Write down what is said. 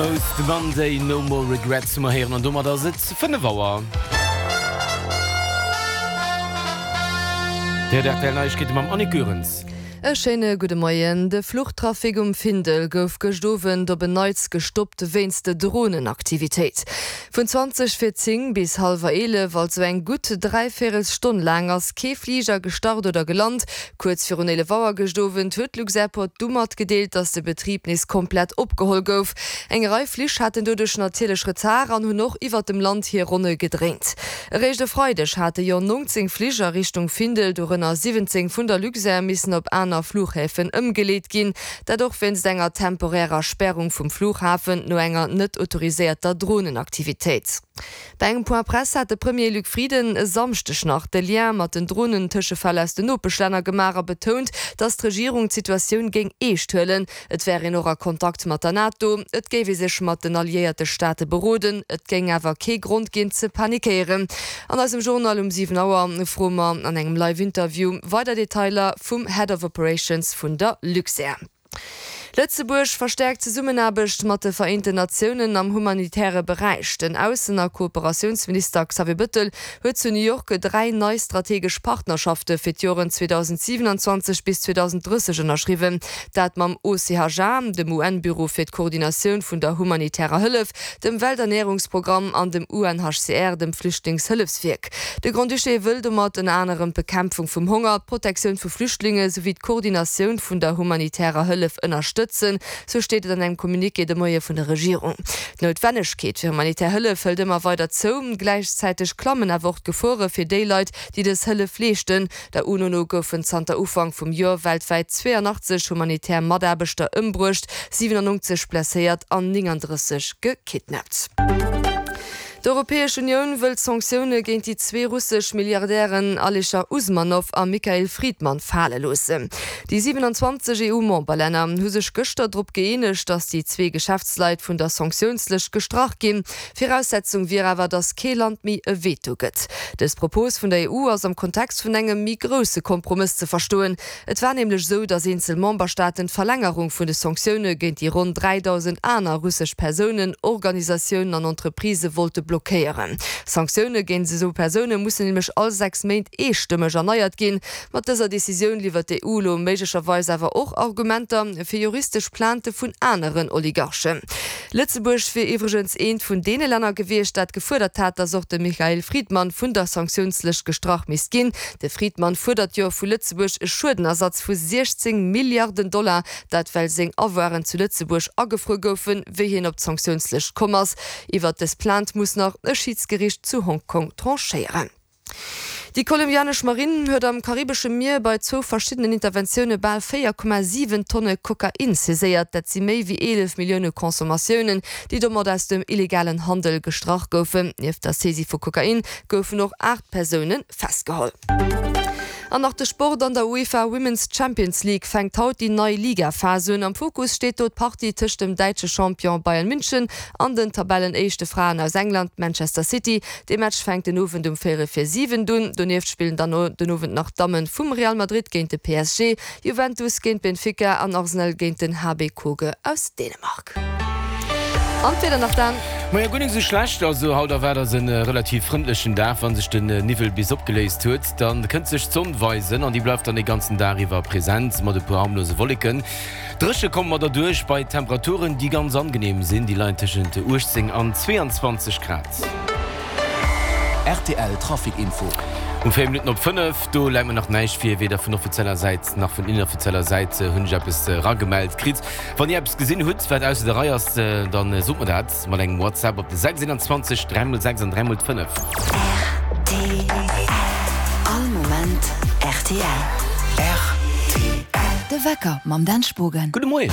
Most Monday, No More Regrets hu mer héieren an domat ass et 5 Auer. Déi aktuell Neiegkeete mam Annick Goerens. E schéine gudde Moien. De Fluchtrafic um Findel gouf gëscht Owend op en Neits gestoppt wéinst de Dronenaktivitéit. Vun 20 vir 10 bis hallwer 11, also eng gutt dräivéierels Stonn laang, ass kee Fliger gestart oder gelant. Kuerz virun 11 Auer gëscht Owend huet d'Luxairport du matgedeelt, datt de Betrib nees komplett opgeholl gouf. Eng Rei Flich haten doduerch natierlech Retard an hunn och iwwert dem Land hir Ronne gedréint. Eréischt e Freideg hate jo 19 Flich a Richtung Findel, dorënner 17 vun der Luxair, missen op aner Fluchhäfen ëmgeleet ginn. Dat och wéinst enger temporärer Sperrung vum Flughafen no enger net autoriséierter Dronenaktivitéit. Bei engem Point Presse hat de Premier Luc Frieden e Samschdeg nach de Lien mat den Dronen-Tëschefäll aus den Nopeschlänner gemaach a betount, datt d'Regierung d'Situatioun géing eescht huelen. Et wär een och a Kontakt mat der NATO, et géif ee sech mat den alliéierte Staate beroden, et géing awer kee Grond ginn ze panikéieren. An eisem Journal um 7 Auer froe mer an engem Live-Interview weider Detailer vum Head of Operations vun der Luxair. Lëtzebuerg verstäerkt d'Zesummenaarbecht mat de Vereenten Natiounen am humanitäre Beräich. Den Aussen a Kooperatiounsminister Xavier Bëttel huet zu New York 3 nei strategesch Partnerschafte fir d'Joren 2027 bis 2030 ënnerschriwwen. Dat mam OCHA, dem UN-Büro fir d'Koordinatioun vun der humanitärer Hëllef, dem Welternärungsprogramm an dem UNHCR, dem Flüchtlingshëllefswierk. De Grand-Duché wëll domat ënner anerem d'Bekämpfung vum Honger, d'Protektioun vu Flüchtlinge souwéi d'Koordinatioun vun der humanitärer Hëllef ënnerstëtzen, sou steet et an engem Communiqué de Moie vun der Regierung. D'Noutwennegkeet fir humanitär Hëllef hëlt ëmmer weider zou. Gläichzäiteg klammen awer och d'Gefore fir déi Leit, déi dës Hëllef leeschten. Der UNO no goufen zanter Ufank vum Joer weltwäit 82 humanitär Mataarbechter ëmbruecht, 97 blesséiert an 39 gekidnappt. D'Europäesch Unioun wëllt Sanktioune géint déi zwee russesch Milliardären Alischer Usmanow a Mikhail Fridman fale loossen. Déi 27 EU-Memberlänner hu sech gëschter drop gëeenegt, datt déi zwee Geschäftsleit vun der Sanktiounslëscht gestrach ginn. Viraussetzung wier awer, datt kee Land méi e Veto gëtt. Dës Propos vun der EU ass am Kontext vun engem méi grousse Kompromëss ze verstoen. Et war nämlech esou, datt eenzel Memberstaaten d'Verlängerung vun de Sanktioune géint déi ronn 3.000 aner russesch Persounen, Organisatiounen an Entreprisë wollte blockéieren. Sanktioune géint esou Persoune mussen nämlech all 6 Méint eestëmmeg erneiert ginn. Mat dëser Decisioun liwwert d'EU elo méiglecherweis awer och Argumenter fir juristesch Plainte vun aneren Oligarchen. Lëtzebuerg wier iwwregens eent vun deene Länner gewiescht, dat gefuerdert hat, datt och de Michael Fridman vun der Sanktiounslëscht gestrach misst ginn. De Fridman fuerdert jo vu Lëtzebuerg e Schuedenersatz vu 16 Milliarden Dollar, dat well seng Avoiren zu Lëtzebuerg agefruer goufen, wéi hien op d'Sanktiounslëscht komm ass. Iwwert dës Plainte muss nach e Schidsgeriicht zu Hongkong tranchéieren. Déi kolumbianesch Marinn huet am karibesche Mier bei zwou verschiddenen Interventioune bal 4,7 Tonne Kokain saiséiert. Dat si méi wéi 11 Millioune Consommatiounen, déi domat aus dem illegalen Handel gestrach goufen. Nieft der Saisie vu Kokain goufen och 8 Persoune festgeholl. An nach de Sport, An der UEFA Women's Champions League fänkt haut déi nei Ligaphas un. Am Fokus steet do d'Partie tëscht dem däitsche Champion Bayern München an den Tabellenéischte Fraen aus England, Manchester City. Dee Match fänkt den Owend um véierel vir 7 un. Donieft spillen dann den Owend nach d'Damme vum Real Madrid géint de PSG, Juventus géint Benfica an Arsenal géint den HB Køge aus Dänemark. An d'Wieder nach, Dan? Majo, guer nik sou schlecht. Also haut erwaart eis en relativ frëndlechen Dag. Wann sech den Niwwel bis opgeléist huet, dann kënnt sech d'Sonn weisen an déi bleift dann de ganzen Dag iwwer präsent mat e puer harmlose Wolleken. Dréche komme mer derduerch bei Temperaturen, déi ganz angenehm sinn, déi leien tëschent 18 an 22 Grad. Rtl Trafic Info. Um 4 Minutten op 5, do läit mer nach näischt vir, weder vun offizieller Säit nach vun inoffizieller Säit hunn ech eppes eragemellt kritt. Wann Dir eppes gesinn hutt, wat ausser der Rei ass, dann sot mer dat mat engem WhatsApp op de 6 21 3 x 6 an 3 x 5. Rtl, All Moment rtl. Rtl. De Wecker mam Dan Spogen. Gudde Moien.